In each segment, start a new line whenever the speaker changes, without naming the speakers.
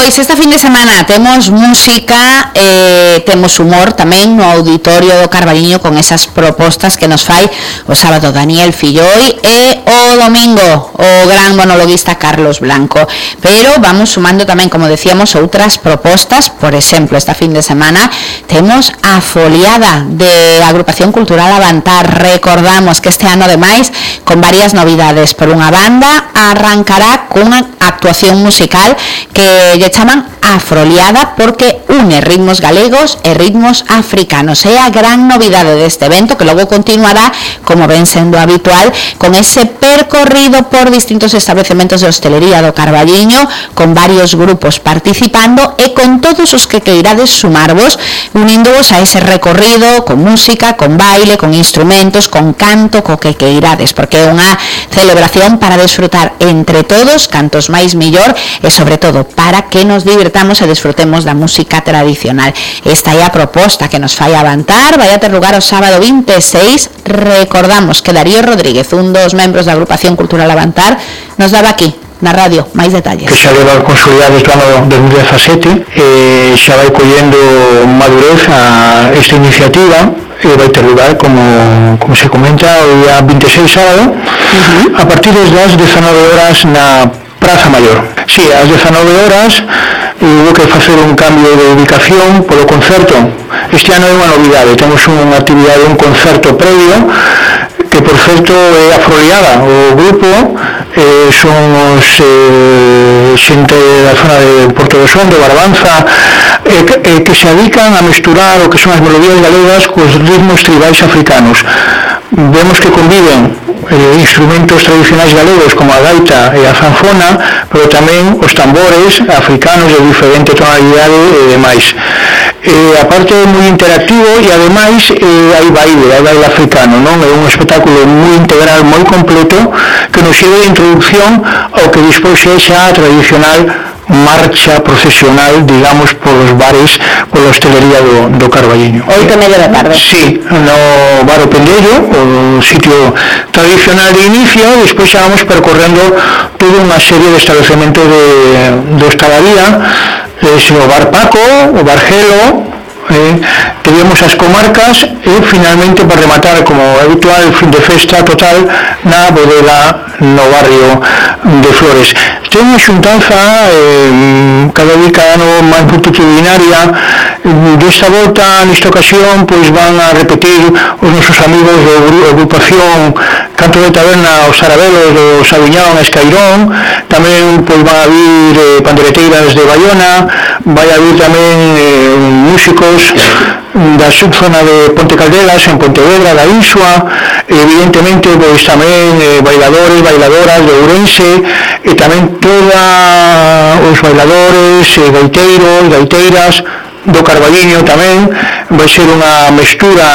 Pois esta fin de semana temos música, temos humor tamén no Auditorio do Carballiño con esas propostas que nos fai o sábado Daniel Filloi e o domingo o gran monologuista Carlos Blanco. Pero vamos sumando tamén, como decíamos, outras propostas. Por exemplo, esta fin de semana temos a foliada de Agrupación Cultural Avantar. Recordamos que este ano, ademais, con varias novidades. Por unha banda, arrancará cunha actuación musical que lle chaman Afroliada porque une ritmos galegos e ritmos africanos. É a gran novidade deste evento, que logo continuará, como ven sendo habitual, con ese percorrido por distintos establecementos de hostelería do Carballiño, con varios grupos participando e con todos os que queirades sumarvos, uníndoos a ese recorrido con música, con baile, con instrumentos, con canto, co que queirades, porque é unha celebración para desfrutar entre todos, cantos máis millor, e sobre todo para que nos divertamos e desfrutemos da música tradicional. Esta é a proposta que nos fai Avantar. Vai a ter lugar o sábado 26. Recordamos que Darío Rodríguez, un dos membros da Agrupación Cultural Avantar, nos daba aquí na radio máis detalles.
Que xa leva consolidado este ano 2017, xa vai collendo madurez a esta iniciativa e vai ter lugar, como se comenta, o día 26 sábado, a partir das 19 horas na Praza Maior. Sí, ás 19 horas hubo que facer un cambio de ubicación polo concerto. Este ano é unha novidade, temos unha actividade, un concerto previo, que por certo é Afroliada. O grupo son os xente da zona de Porto do Son, de Barbanza, que se dedican a mesturar o que son as melodías galegas cos ritmos tribais africanos. Vemos que conviven instrumentos tradicionais galegos como a gaita e a zanfona, pero tamén os tambores africanos de diferente tonalidade e demais. Aparte é moi interactivo e ademais hai baile africano, non? É un espectáculo moi integral, moi completo, que nos sirve de introducción ao que despois é xa a tradicional marcha procesional, digamos, polos bares, pola hostelería do Carballiño.
8:30 da tarde.
Sí, no bar O Pendello, o sitio tradicional de inicio, e despois xa vamos percorrendo toda unha serie de estabelecementos de hostalería, o bar Paco, o bar Gelo, teníamos as comarcas e finalmente, para rematar, como habitual, fin de festa total na bodega no barrio de Flores. Ten unha xuntanza cada ano máis multitudinaria. Desta volta, nesta ocasión, pois van a repetir os nosos amigos da agrupación Canto de Taberna, os Sarabelos do Sabiñón, Escairón. Tamén pois van a vir pandereteiras de Bayona, vai a vir tamén músicos da subzona de Ponte Caldelas, en Pontevedra, da Insua, evidentemente pois tamén bailadores, bailadoras de Ourense, e tamén todos os bailadores, gaiteiros, gaiteiras do Carballiño. Tamén vai ser unha mestura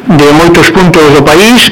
de moitos puntos do país.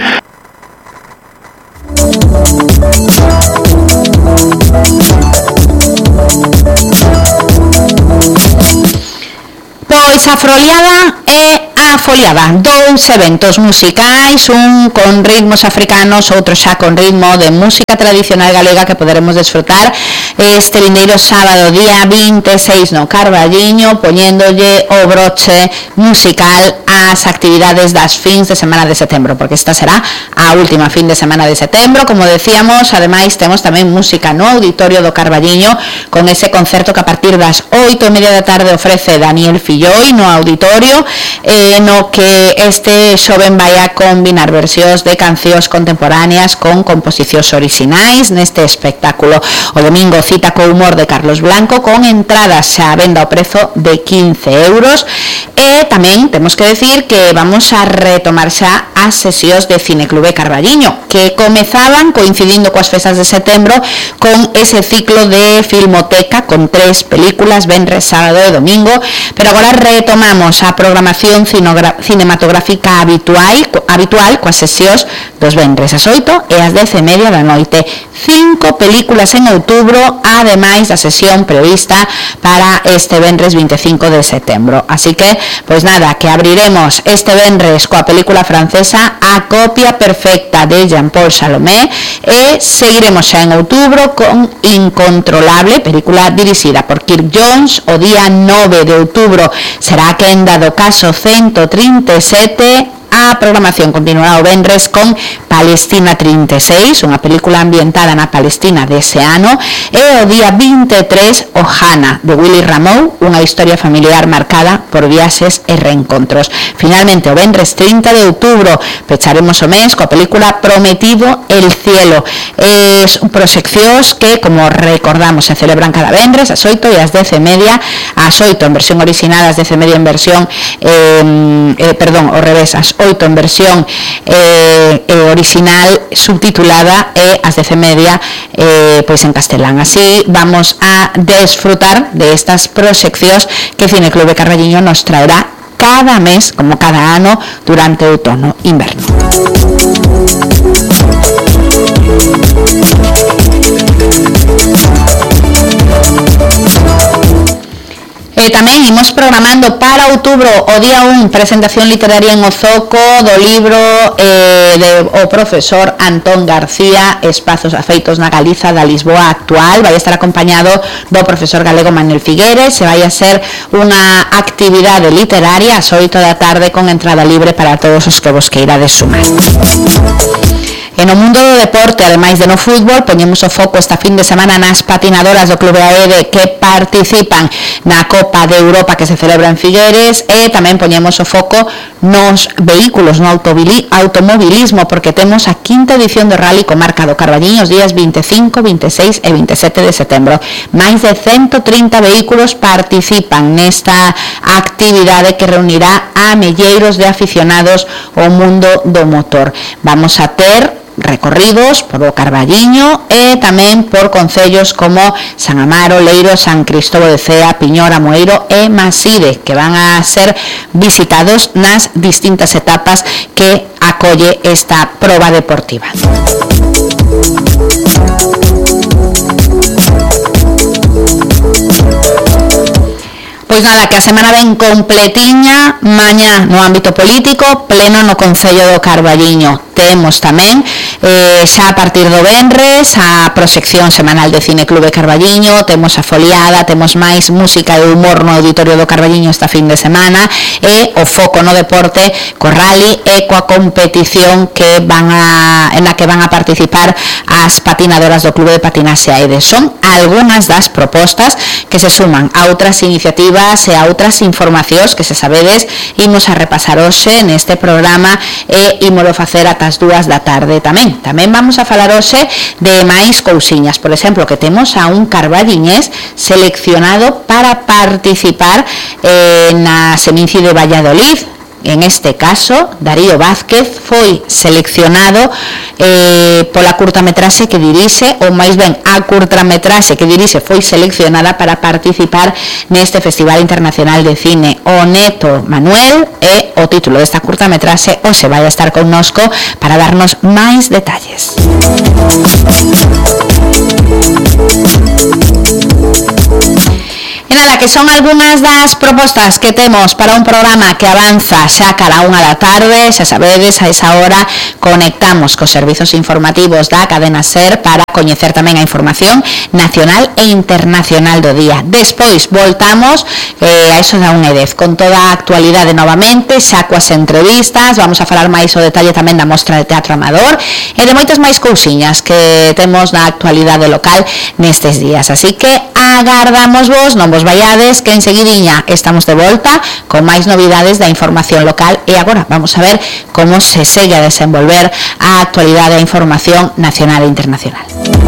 Pois a Afroliada é a foliada, dous eventos musicais, un con ritmos africanos, outro xa con ritmo de música tradicional galega, que poderemos desfrutar este vindeiro sábado, día 26 no Carballiño, poñéndolle o broche musical ás actividades das fins de semana de setembro, porque esta será a última fin de semana de setembro. Como decíamos, ademais temos tamén música no Auditorio do Carballiño, con ese concerto que a partir das 8:30 da tarde ofrece Daniel Filloi no Auditorio, no que este xoven vai a combinar versións de cancións contemporáneas con composicións orixinais neste espectáculo. O domingo cita co humor de Carlos Blanco, con entradas xa a venda ao prezo de 15 euros. E tamén temos que decir que vamos a retomar xa as sesións de Cineclube Carballiño, que comezaban coincidindo coas festas de setembro con ese ciclo de filmoteca con 3 películas, venres, sábado e domingo, pero agora retomamos a programación cinematográfica habitual coas sesións dos venres ás 8 e ás 10:30 da noite. 5 películas en outubro, ademais da sesión prevista para este venres 25 de setembro. Así que Pois nada, que abriremos este venres coa película francesa A copia perfecta de Jean-Paul Salomé e seguiremos xa en outubro con Incontrolable, película dirixida por Kirk Jones. O día 9 de outubro será a quenda do caso 137. A programación continuará o venres con Palestina 36, unha película ambientada na Palestina dese ano, e o día 23 Ohana, de Willy Rameau, unha historia familiar marcada por viaxes e reencontros. Finalmente, o venres 30 de outubro pecharemos o mes coa película Prometido el cielo. Proxeccións que, como recordamos, se celebran cada venres ás 8 e ás 10:30, ás 8 en versión original, ás 10:30 en versión ao revés, ás 8 en versión original subtitulada e ás 10:30 pois en castelán. Así vamos a desfrutar de estas proxeccións que Cineclube Carballiño nos traerá cada mes, como cada ano, durante o outono e inverno. E tamén imos programando para outubro o día 1 presentación literaria en Ozoco do libro o profesor Antón García, Espazos afeitos na Galiza da Lisboa actual. Vai estar acompañado do profesor galego Manuel Figueres. Se vai a ser unha actividade literaria ás 8 da tarde con entrada libre para todos os que vos queirades sumar. E no mundo do deporte, ademais de no fútbol, poñemos o foco esta fin de semana nas patinadoras do Clube AED que participan na Copa de Europa que se celebra en Figueres, e tamén poñemos o foco nos vehículos, no automobilismo, porque temos a quinta edición do Rally Comarca do Carballiño os días 25, 26 e 27 de setembro. Máis de 130 vehículos participan nesta actividade que reunirá a milleiros de aficionados ao mundo do motor. Vamos a ter recorridos por o Carballiño e tamén por concellos como San Amaro, Leiro, San Cristóbal de Cea, Piñor, Amoeiro e Maside, que van a ser visitados nas distintas etapas que acolle esta proba deportiva. Pois nada, que a semana ven completiña. Mañá no ámbito político, pleno no Concello do Carballiño. Temos tamén xa a partir do venres a proxección semanal de Cineclube Carballiño, temos a foliada, temos máis música e humor no Auditorio do Carballiño esta fin de semana, e o foco no deporte co rally e coa competición que en la que van a participar as patinadoras do Clube de Patinaxe AED. Son algunhas das propostas que se suman a outras iniciativas e a outras informacións que, se sabedes, imos a repasar hoxe neste programa e ímolo facer ata as 2 da tarde tamén. Tamén vamos a falar hoxe de máis cousiñas. Por exemplo, que temos a un carballiñés seleccionado para participar na Seminci de Valladolid. En este caso, Darío Vázquez foi seleccionado pola curtametraxe que dirixe, ou máis ben, a curtametraxe que dirixe foi seleccionada para participar neste Festival Internacional de Cine. O neto Manuel é o título desta curtametraxe, hoxe vai a estar connosco para darnos máis detalles. E nada, que son algunhas das propostas que temos para un programa que avanza xa cara a 1 da tarde. Xa sabedes, a esa hora conectamos cos servizos informativos da cadena SER para coñecer tamén a información nacional e internacional do día. Despois voltamos a iso da 1:10 con toda a actualidade novamente, xa coas entrevistas. Vamos a falar máis o detalle tamén da mostra de teatro amador e de moitas máis cousiñas que temos na actualidade local nestes días. Así que agardamos vos, non vos vaiades, que enseguidiña estamos de volta con máis novidades da información local. E agora vamos a ver como se segue a desenvolver a actualidade e a información nacional e internacional.